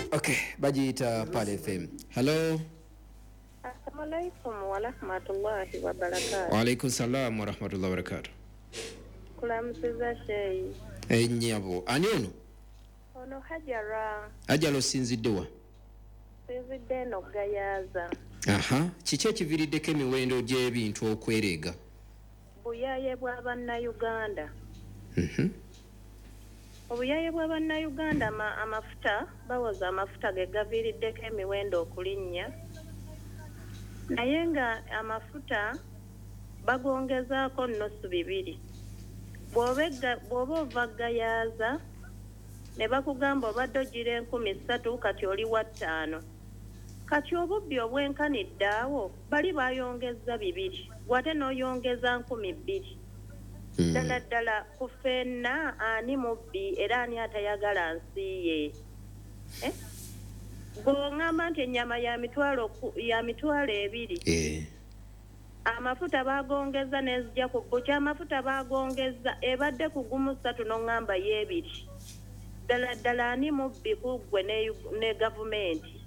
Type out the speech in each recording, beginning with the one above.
Okay, bagiyita Pal FM. Hello. Assalamu alaikum warahmatullahi wabarakatuh. Waalaikum salam warahmatullahi wabarakatuh. Kulamusiza sheyi. Ennyabo, ani ono? Ono Hajara. Hajara, osinzidde wa? Sinzidde eno Gayaza. Aha, kiki ekiviiriddeko emiwendo gy'ebintu okwereega? Buyaaye bwa Bannayuganda. Obuyaaye bwa Bannayuganda, amafuta, bawoza amafuta ge gaviiriddeko emiwendo okulinnya. Naye nga amafuta bagongezaako 2.5. Bw'oba ova Gayaza ne bakugamba obadde ogira 3,000 kati oli wa 5. Kati obubbi obwenkanidde awo bali bayongeza 2, gwate n'oyongeza 2,000. Ddala ddala ku ffenna ani mubbi era ani atayagala nsi ye? Eh? Bw'oŋŋamba nti ennyama ya 20,000. Amafuta bagongeza n'enzija ku bukya, amafuta bagongeza ebadde ku 3 n'oŋŋamba y'ebiri. Ddala ddala ani mubbi ku ggwe ne gavumenti?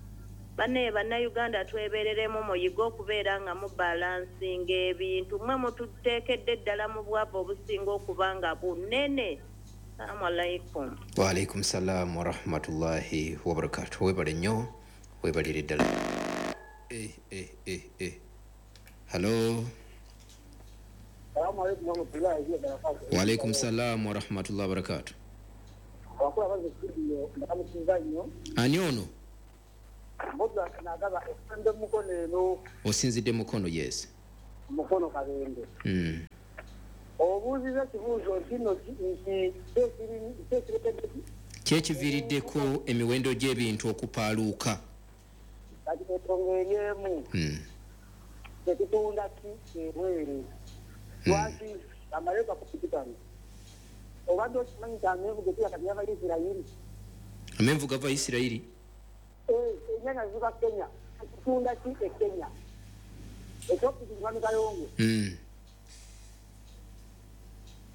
Bannaye Bannayuganda twebereremu, muyige okubeera nga mubalansinga ebintu. Mmwe mututeekedde ddala mu bwavu obusinga okuba nga bunene. Assalamu alaikum. Wa alaikum salam wa rahmatullahi wa barakatuh. Webale nnyo, webalire ddala. Eh, eh, eh, eh. Hello. Assalamu alaikum wa rahmatullahi wa barakatuh. Wa alaikum salam wa rahmatullahi wa barakatuh. Abakulu abaze studio ndamusinza nnyo. Ani ono? Mboga nagaba esande Mukono eno. Osinzidde Mukono, yes. Mukono Kabende. Obuuziza ekibuuzo nti nno nti kyekiviiriddeko emiwendo gy'ebintu okupaaluuka. Kati ensonga eri emu. Tetutunda ki ebweru? Lwaki amareeka ku pikipiki? Obadde okimanyi nti amenvu ge tulya kati gava Isirayiri? Amenvu gava Isirayiri? Ennyanya ziva Kenya. Tetutunda ki e Kenya? Ekyokubiri, Mwami Kayongo.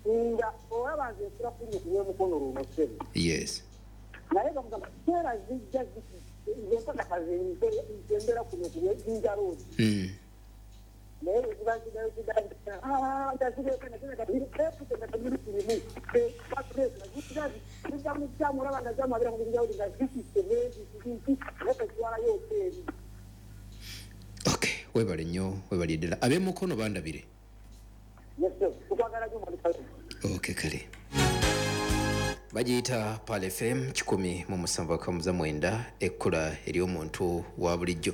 Nga olaba nze nsula kuno ku lw'Emukono luno ssebo. Yes. Naye bamugamba seera zijja nze mpaka kaze nze mbeera kuno ku lw'Ejjinja Road. Naye bwe ziba zigayo zijja olaba nga zamabira mu Jinja Road nga zitisse n'ezitwalayo oteeri. Okay, webale nnyo, webale ddala. Ab'emukono bandabire. Yes, sir. Tukwagala nnyo Mwami Kayongo. Okay, kale. Bagiyita Pal FM 107.9, ekkula ery'omuntu wa bulijjo.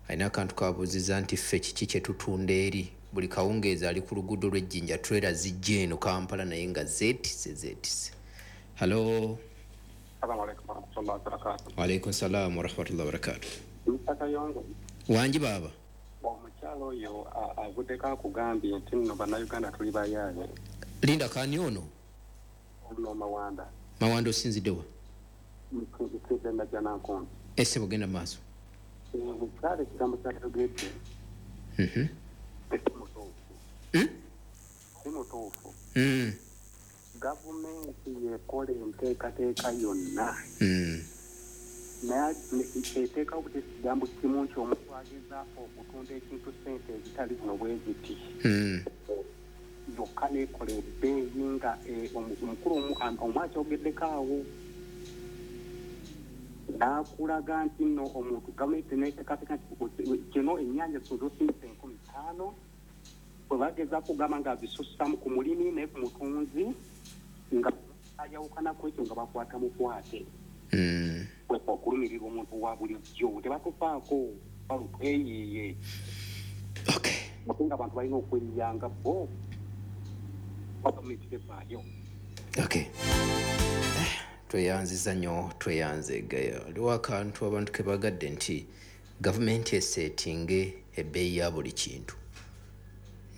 Alina akantu kabuuziza nti ffe kiki kye tutunda eri? Buli kawungeezi ali ku luguudo lw'Ejjinja, trailer zijja eno Kampala naye nga zeetisse zeetisse. Hello. Assalamu alaikum warahmatullahi wabarakatuh. Wa alaikum salam warahmatullahi wabarakatuh. Mr. Kayongo. Wangi baaba. Omukyalo oyo avuddeko akugambye nti nno Bannayuganda tuli bayaaye. Linda, kani ono? Ono Mawanda. Mawanda, osinzidde wa? Nsinzidde Najjanankumbi. Ese bugenda maaso. Omukyala ekigambo ky'ayogedde si mutuufu. Si mutuufu. Gavumenti yekola enteekateeka yonna. Naye eteekawo buti ekigambo kimu nti omuntu agezaako okutunda ekintu ssente ezitali zino bwe ziti. Yokka n'ekola ebbeeyi nga omukulu omu akyogeddeko awo. N'akulaga nti nno omuntu gavumenti n'eteekateeka nti kino ennyaanya zosindise 5,000 bwe bagezaako kugamba nga zisussaamu ku mulimi naye ku mutunzi nga ayawukana ku ekyo nga bakwata mukwate. Okulumirirwa omuntu wa bulijjo tebatufaako balutweyiiye. Okay. Ate nga abantu balina okweyiyanga bo gavumenti tefaayo. Okay. Tweyanziza nnyo, tweyanze gaya. Waliwo akantu abantu ke bagadde nti gavumenti eseetinge ebbeeyi ya buli kintu.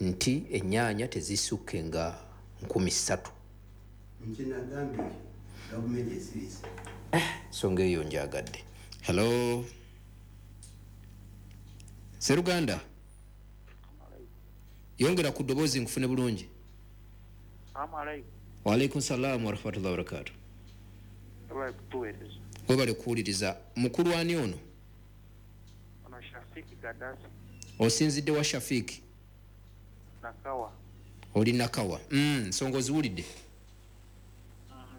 Nti ennyaanya tezisukke nga 3,000. Nti nagambye gavumenti esirise. Ensonga eyo njagadde. Hello. Seruganda. Yongera ku ddoboozi nkufune bulungi. Assalamu alaikum. Wa alaikum salam wa rahmatullahi wa barakatuh. Kutuweereza. Webale kuwuliriza. Mukulu ani ono? Ono Shafiki Gaddafi. Osinzidde wa, Shafiki? Nakawa. Oli Nakawa. Nsonga oziwulidde?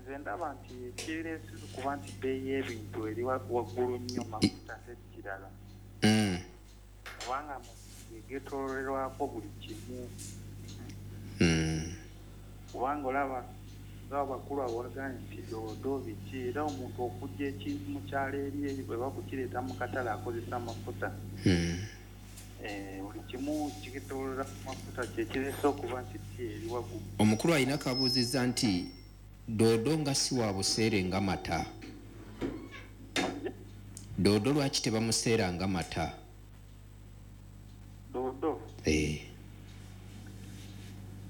Nze ndaba nti ekireese kuba nti bbeeyi y'ebintu eri waggulu nnyo, mafuta ate kirala, kubanga getoolerwako buli kimu. Kubanga olaba nga abakulu abawaganye nti doodo biki, era omuntu okujja ekintu mu kyalo eri bwe bakukireeta mu katale akozesa amafuta. Buli kimu kitoolera ku mafuta, kyekireese okuba nti ti eri waggulu. Omukulu alina kabuuzizza nti doodo nga si wa buseere nga mata, doodo lwaki tebamuseera nga mata? Doodo? Eh.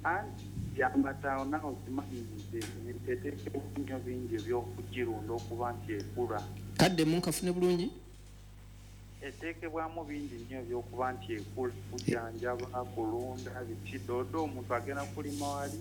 Anti byamata nawe okimanyi nti eteekebwa nnyo bingi ebyokugirunda okuba nti ekula. Kaddemu nkafune bulungi. Eteekebwamu bingi nnyo ebyokuba nti ekula, kujanjaba, kulunda, biki. Doodo omuntu agenda kulima wali.